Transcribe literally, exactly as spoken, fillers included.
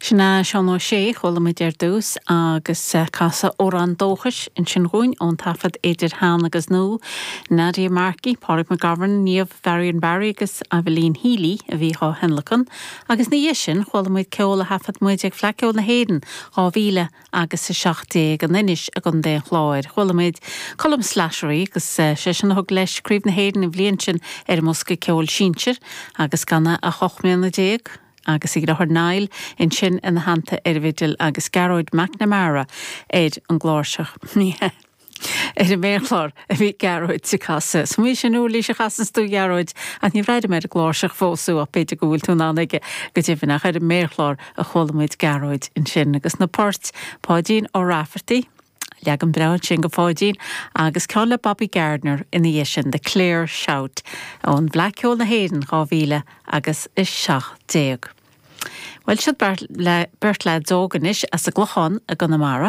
Sin é Seán Ó Sé chuala muid ar dtús agus eh, casadh amhrán dóchais ansin dúinn ón taifead idir shean agus nua, Nadia Markey, Pádraig McGovern, Niamh Varian Barry agus Eibhlín Healy a bhí á thionlacan, agus ina dhiaidh sin chuala muid ceol a thaifead muid ag Fleadh Cheoil na hÉireann dhá mhíle agus a seacht déag in Inis i gContae an Chláir. Chuala muid Colm Slattery agus eh, sé sin a thug leis Craobh na hÉireann an bhliain sin ar an mbosca ceoil sinsir agus gan ach ocht mbliana déag. agus a dheartháir Niall ansin ina theannta ar an bhfidil agus Gearóid McNamara ar an gcláirseach. ar an méarchlár a bhí Gearóid ag casadh. Smaoin sin uirlis a chasann tú Gearóid ach ní bhraithim ar an gcláirseach fós ach b'fhéidir go bhfuil tú in ann aige go deimhin ach ar an méarchlár a chuala muid Gearóid ansin agus na poirt Páidín Ó Rafferty. Leagan breá sin go Pháidín agus ceann le Bobby Gardner ina dhiaidh sin The Clare Shout ón bhFleadh Cheoil na hÉireann dhá mhíle agus a seacht déag. Well siad le beirt leaids óg anois as an gClochán i gConamara.